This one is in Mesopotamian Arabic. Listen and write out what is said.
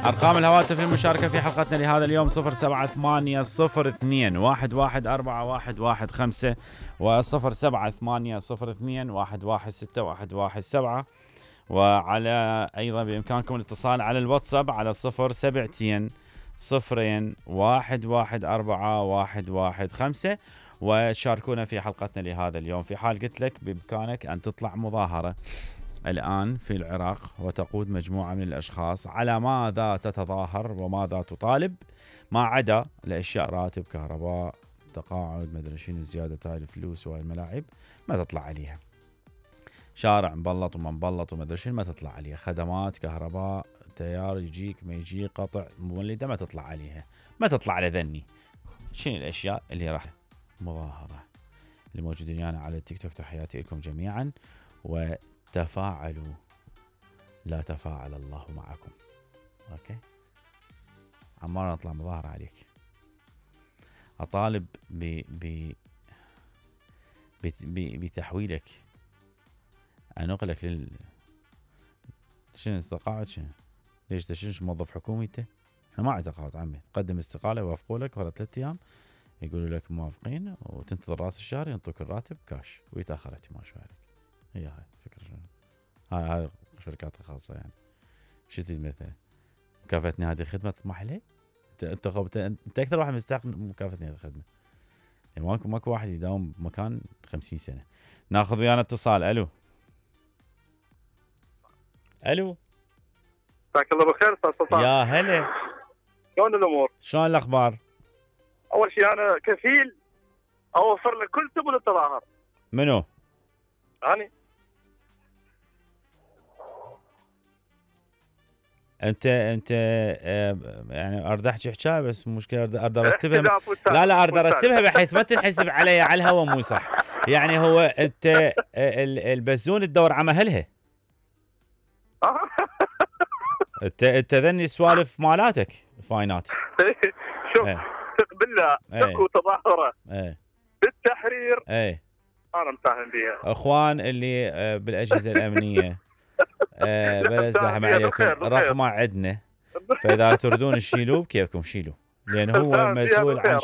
أرقام الهواتف للمشاركة في حلقتنا لهذا اليوم 07802114115 و07802116117. وعلى أيضا بإمكانكم الاتصال على الواتساب على 07201141115 وشاركونا في حلقتنا لهذا اليوم. في حال قلت لك بإمكانك أن تطلع مظاهرة الآن في العراق وتقود مجموعة من الأشخاص، على ماذا تتظاهر وماذا تطالب؟ ما عدا الأشياء راتب كهرباء تقاعد مدري شنو زيادة هاي الفلوس وهاي الملاعب ما تطلع عليها. شارع مبلط وما مبلط وما ادري شنو ما تطلع عليها. خدمات كهرباء تيار يجيك ما يجي قطع مولده ما تطلع عليها. ما تطلع على ذني. شنو الاشياء اللي راح مظاهره؟ اللي موجودين يعني على التيك توك تحياتي لكم جميعا وتفاعلوا. لا تفاعل الله معكم. اوكي عمار نطلع مظاهره عليك. اطالب بتحويلك انقلك شنو التقاعد؟ شنو ليش تشنش موظف حكومي انت؟ احنا ما عندنا تقاعد عمي. تقدم استقاله يوافقوا لك ورا 3 ايام يقولوا لك موافقين وتنتظر راس الشهر ينطوك الراتب كاش ويتاخر اهتمام شوي عليك. هاي فكره. هاي شركات خاصه يعني. شو تريد مثلا؟ مكافاه نهايه الخدمه تطمح ليه؟ انت اكثر واحد مستحق مكافاه نهايه الخدمه. يعني ماكو واحد يداوم بمكان 50 سنه. ناخذ ويانا اتصال. الو مساك الله بالخير استاذ سلطان. يا هلا، شلون الامور؟ شلون الاخبار؟ اول شيء انا كفيل اوفر لك كل سبل التظاهر. منو؟ اني. انت يعني اريد احكي حكايه بس مشكله اريد ارتبها. لا اريد ارتبها بحيث ما تنحسب علي على الهوا مو صح. يعني هو انت البزون تدور على مهلها. انت ذني سوالف مالاتك فاينات. شوف ثق بالله اكو تظاهره بالتحرير انا مساهم بيها. اخوان اللي بالاجهزه الامنيه بلا زحمه عليكم رقمه عندنا، فاذا تريدون تشيلوه بكيفكم شيلوه لان هو مسؤول عن